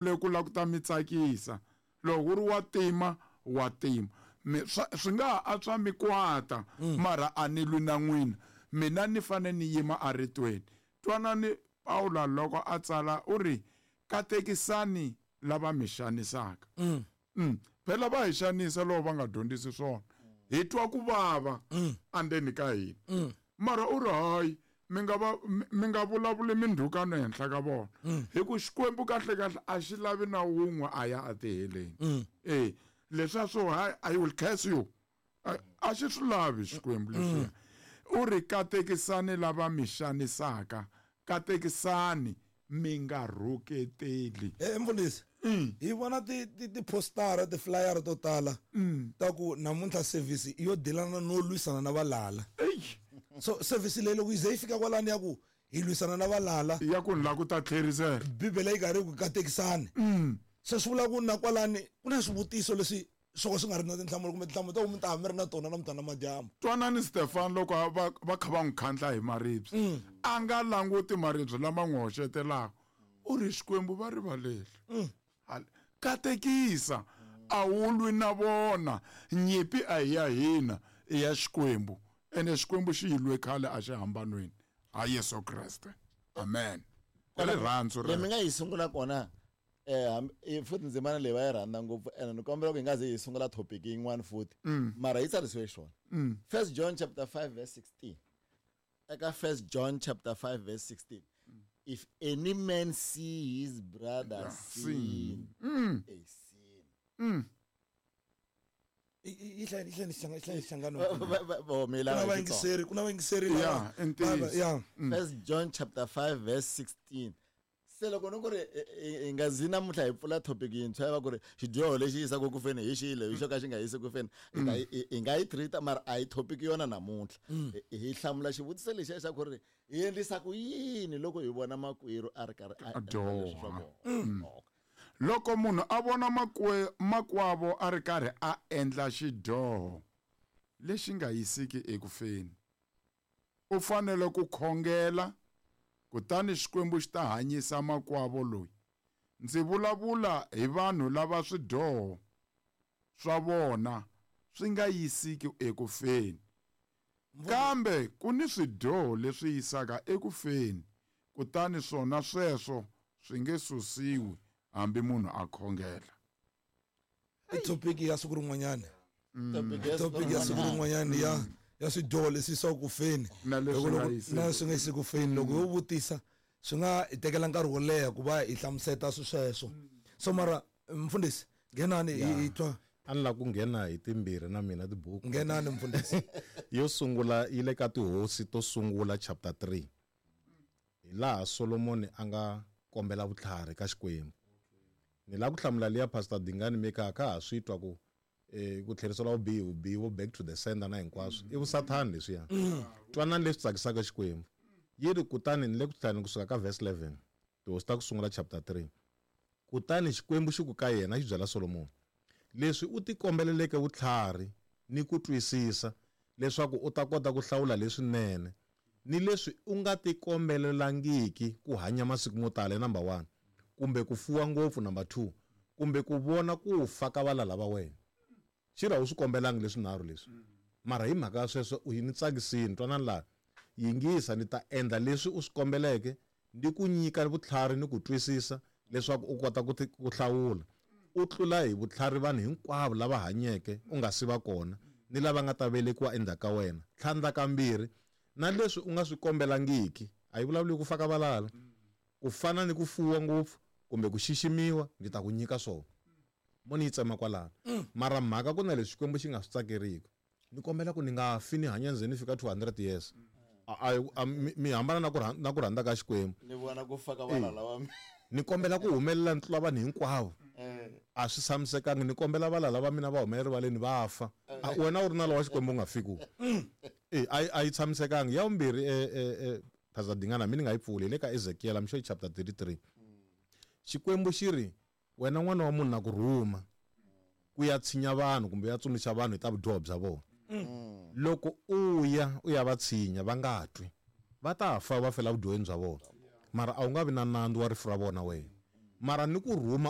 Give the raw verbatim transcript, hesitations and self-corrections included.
Le ku lava ku ta mi tsakisa loko ku ri wa tima wa tima mi swi nga ha antswa mi kwata mara a ni lwi na n'wina mina ni fane ni yima aritweni twanani Paula loko a tsala u ri katekisani lava mi xanisaka mm. Mm. Phela va hi xanisa loko va nga dyondzisi swona hi twa ku vava andzeni ka hina mm. Mara u ri hayi mi nga va mi nga vulavuli mindhukano ehenhla ka vona hi ku Xikwembu kahle kahle a xi lavi na wun'we a ya etiheleni mm. Eh leswiya swo hayi I will curse you a xi swi lavi Xikwembu leswiya u ri katekisani lava mi xanisaka katekisani mi nga rhuketeli eh mfundhisi hi vona ti ti ti-postara ti-flyera to tala ta ku namuntlha service yo dilana no lwisana na valala so service leyi loko yi ze yi fika kwalani ya ku hi lwisana na valala ya ku ni lava ku ta tlherisela bibele yi karhi yi ku katekisani se swi vula ku na kwalani ku na swivutiso leswi swo ka swi nga ri na tinhlamulo kumbe tinhlamulo ta ku mi ta mi ri na tona namuntlha na madyambu twanani Stefan loko va va kha va n'wi khandla hi maribye a nga languti maribye lama n'wi hoxetelaka u ri Xikwembu va rivaleli katekisa a wu lwi na vona nyimpi a hi ya hina i ya Xikwembu ene Xikwembu xi yi lwe khale a xi hambanweni ha Yesu Kreste amen ka rirhandzu le mi nga yi sungula kona eh futhi ndzimana leyi va yi rhandza ngopfu ene ni kombela ku hi nga ze hi sungula topic yin'wana futhi mara yi tsarisiwe xona First John chapter five verse sixteen eka First John chapter five verse sixteen if any man see his brother yeah, sin, mm. a sin. Mm. yi hlaya yi hlaya hlangano kuna vayingiseri kuna vayingiseri yeah yeah First John chapter five verse sixteen se loko ni ku ri hi nga zi namuntlha hi pfula topic yintshwa ya va ku ri xidyoho lexi yisaka ku feni hi xile hi xo ka xi nga yisi ku feni hi nga yi treat mara a hi topic yona namuntlha hi hlamula xivutiso lexiya xa ku ri hi endlisa ku yini loko hi vona makwerhu a ri karhi a dyoha loko munhu a vona makwe makwavo a ri karhi a endla xidyoho lexi nga yisiki ekufeni u fanele ku khongela kutani Xikwembu xi ta hanyisa makwavo loyi ndzi vulavula hi vanhu lava swidyoho swa vona swi nga yisiki ekufeni kambe ku ni swidyoho leswi yisaka ekufeni kutani swona sweswo swi nge susiwi hambi munhu a khongela i topic ya siku rin'wanyana topic ya siku rin'wanyana ya ya swidyoho leswi yisaka ku feni na leswi nga yisiki ku feni loko yo vutisa swi nga hi tekela nkarhi wo leha ku va hi hlamuseta swi sweswo so mara mfundhisi nghenani hi twa a ni lava ku nghena hi timbirhi na mina tibuku nghenani mfundhisi yo sungula yi le ka tihosi to sungula chapter three hi laha Solomoni a nga kombela vutlhari ka Xikwembu ni lava ku hlamula liya Pastor Dingani Mika ka ha swi twa ku eh ku tlherisela vubihi vubihi vo back to the sender na hinkwaswo i vusathani leswiya twanani leswi tsakisaka Xikwembu yi ri kutani ni le ku tlhani kusuka ka verse eleven tihosi ta ku sungula chapter three kutani Xikwembu xi ku ka yena xi byela Solomoni leswi u tikombeleleke vutlhari ni ku twisisa leswaku u ta kota ku hlawula leswinene ni leswi u nga tikombelelangiki ku hanya masiku mo tala number one kumbe ku fuwa ngopfu number two kumbe ku vona ku fa ka valala va wena xi ra u swi kombelangi leswinharhu leswi mara hi mhaka ya sweswo u yi ni tsakisini twanani laha yingisa ni ta endla leswi u swi kombeleke ni ku nyika vutlhari ni ku twisisa leswaku u kota ku ku hlawula u tlula hi vutlhari vanhu hinkwavo lava hanyeke u nga si va kona ni lava nga ta velekiwa endzhaku ka wena tlhandla kambirhi na leswi u nga swi kombelangiki a yi vulavuli ku faka valala ku fana ni ku fuwa ngopfu kumbe ku xiximiwa ndzi ta ku nyika swona mo ni yi tsema kwalano mara mhaka ku na leswi Xikwembu xi nga swi tsakeriki ni kombela ku ni nga fi ni hanya ndzeni fika two hundred years a a mi hambana na ku na ku rhandza ka Xikwembu ni vona ku faka valala wa mina ni kombela ku humelela ni tlula vanhu hinkwavo a swi tshamisekanga ni kombela valala va mina va humelela rivaleni va fa wena u ri na lowa Xikwembu u nga fiki eh a yi tshamisekanga ya vumbirhi eh Pastor Dingana mi ni nga yi pfuli hi le ka Ezekiel I'm sure chapter thirty-three Xikwembu xi ri wena n'wana wa munhu na ku rhuma ku ya tshinya vanhu kumbe ya tsundzuxa vanhu hi ta vudyoho bya vona loko u ya u ya va tshinya va nga twi va ta fa va fela vudyoheni bya vona mara a wu nga vi na nandzu wa rifu ra vona wena Mara ni ku rhuma